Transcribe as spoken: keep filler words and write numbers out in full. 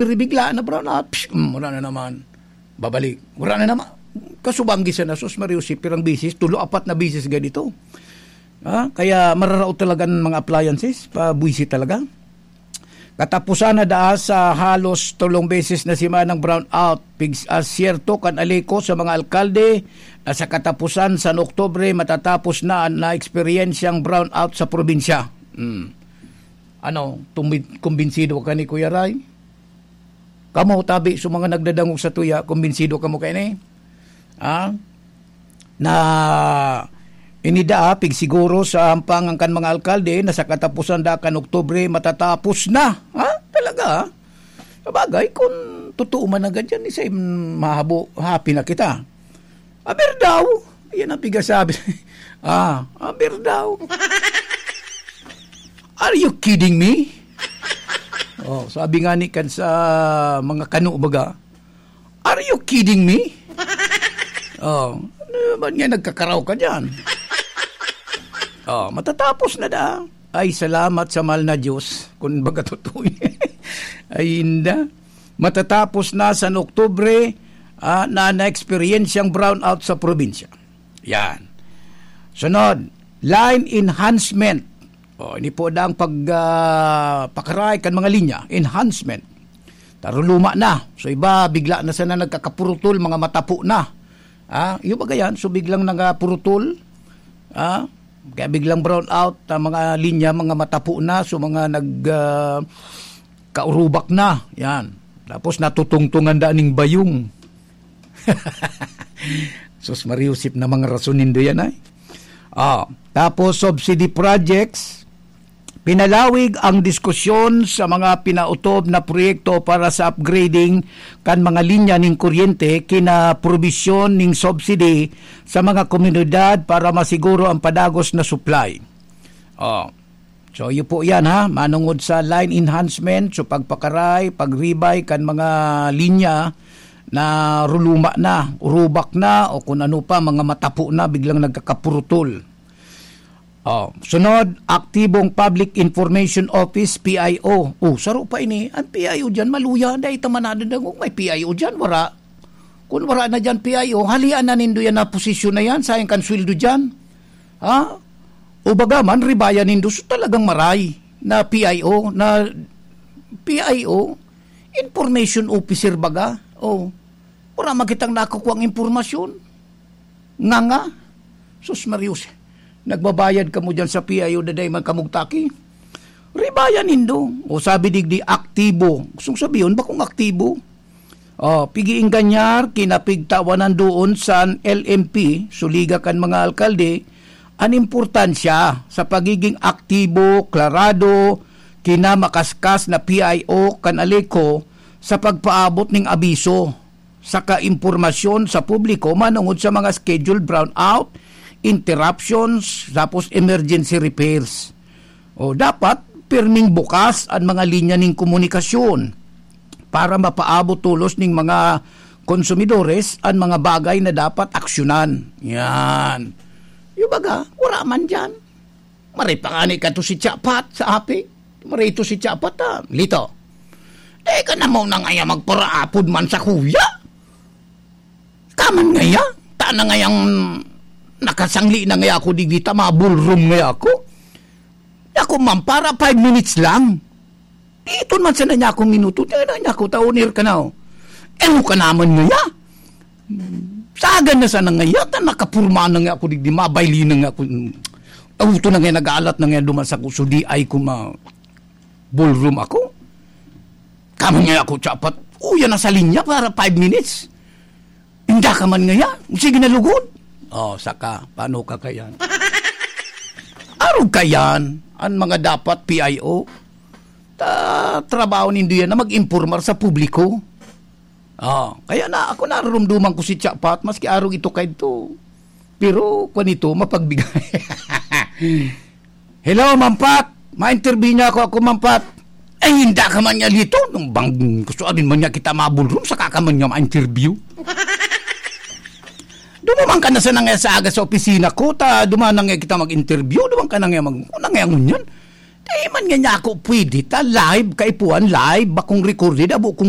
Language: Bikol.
Ribigla na brown out, psh, mm, wala na naman. Babalik. Wala na naman. Kasubanggi siya na, sus, Mario, si pirang bisis, tulo, apat na bisis ganito. Ha? Kaya mararaot talaga ang mga appliances, pabwisi talaga. Katapusan na daa sa halos tulong beses na simanang brown out. Pigs-, ah, siyerto kan Aleco sa mga alkalde na sa katapusan sa Oktubre matatapos na na eksperyensyang brown out sa probinsya. Hmm. Ano, tumbi-, kumbinsido ka ni Kuya Ray? Kamo, tabi sa mga nagdadangog sa tuya, kumbinsido kamo kaini? Ah? Na inida, pigsiguro sa hampangan kan mga alkalde na sa katapusan da kan Oktubre matatapos na. Ha? Talaga, ha? Sabagay, kung totoo man na ganyan, isa yung mahabo, happy na kita. Aber daw, yan ang pigasabi. Ah, aber daw. Are you kidding me? Oh, sabi nga ni kan sa mga kano baga, "Are you kidding me?" Oh, ano ba nga nagkakaraw ka dyan? Oh, matatapos na da. Ay, salamat sa mahal na Diyos. Kung baga totoo yan. Ay, inda. Matatapos na sa Oktubre, ah, na na-eksperyensyang brownout sa probinsya. Yan. Sunod, line enhancement. O, ini po daang pag, ah, pakaray kan mga linya. Enhancement. Taruluma na. So, iba, bigla na sana nagkakapurutol, mga matapo na. Ah, yung baga yan, so biglang nagkapurutol. Ah, kaya biglang brown out ang mga linya, mga matapo na, so mga nag, ah, kaurubak na. Yan. Tapos natutungtungan da ning bayong. Sus, mariusip na mga rason nindo yan, ay. Ah, tapos subsidy projects, pinalawig ang diskusyon sa mga pinautob na proyekto para sa upgrading kan mga linya ning kuryente kina probisyon ning subsidy sa mga komunidad para masiguro ang padagos na supply. Oh. So, iyo po yan, ha, manungod sa line enhancement, so pagpakaray, pagribay kan mga linya na ruluma na, urubak na, o kung ano pa, mga matapo na, biglang nagkakapurutol. Oh, sunod, aktibong Public Information Office, P I O. Oh, saro pa ini. Ang P I O dyan, maluya. Dahil ita man nadadangog, may P I O dyan, wara. Kung wara na dyan, P I O, halian na nindo yan na posisyon na yan, sayang kan sweldo dyan. Ha? O baga man, ribayan nindo, so talagang maray na P I O, na P I O, information officer baga. Oh, wala man kitang nakukuha ang impormasyon. Nga nga, sus Marius, nagbabayad kamo dyan sa P I O, daday man kamog taki. Ribayan nindo. O sabi digdi, aktibo. Gustong sabihin, bakong aktibo? Oh, pig-iinganyar, kinapigtawanan doon sa L M P, suliga kan mga alkalde, an importansya sa pagiging aktibo, klarado, kinamakaskas na P I O kan Aleco sa pagpaabot ning abiso saka impormasyon sa publiko manungod sa mga scheduled brownout, interruptions, tapos emergency repairs. O dapat, pirming bukas an mga linya ning komunikasyon para mapaabot tolos ning mga konsumidores an mga bagay na dapat aksyonan. Yan. Yung baga, wala man dyan. Maray pa nga ni kato si Chapat sa api. Maray ito si Chapat, ah. Lito. Eh, ka na mo na ngaya magparaapod man sa kuya. Kaman ngaya? Ta na ngayang nakasangli na ngaya ako digdi ta, mga ballroom ngaya ako. Ako man, para five minutes lang. Dito man sana niya akong minuto. Kaya na niya ako, taon air ka na, oh. Eh, ka naman ngaya? Sagan na sana ngaya, ta nakapurma na nga ako digdi, mabayli na nga ako. Auto na nga, nag-aalat na nga duman sa kuso, di ay ko ma-, ballroom ako. Kaman nga ako, Chapat, uya na sa linya para five minutes. Inda ka man ngaya, sige na lugod. Oh, saka, paano ka kayan? Arog kayan, ang mga dapat P I O, ta, trabaho nindo yan na mag-impormar sa publiko. Ah, kaya na, ako narurumduman ko si Chapat, maski arog ito kaidto. Pero, kwan ito, mapagbigay. "Hello, Mampat! Ma-interview niya ako, ako, Mampat." "Ay, hindi ka man niya dito. Nung bang gusto abin man niya kita mabulrum, saka ka man niya ma-interview." "Dumaman ka na sana nga sa aga sa opisina ko, ta duman na nga kita mag-interview, duman ka na nga mag-, ano na nga ngunyan?" Di man nga niya ako pwede ta live, kaipuhan live, bakong recorded, abo kong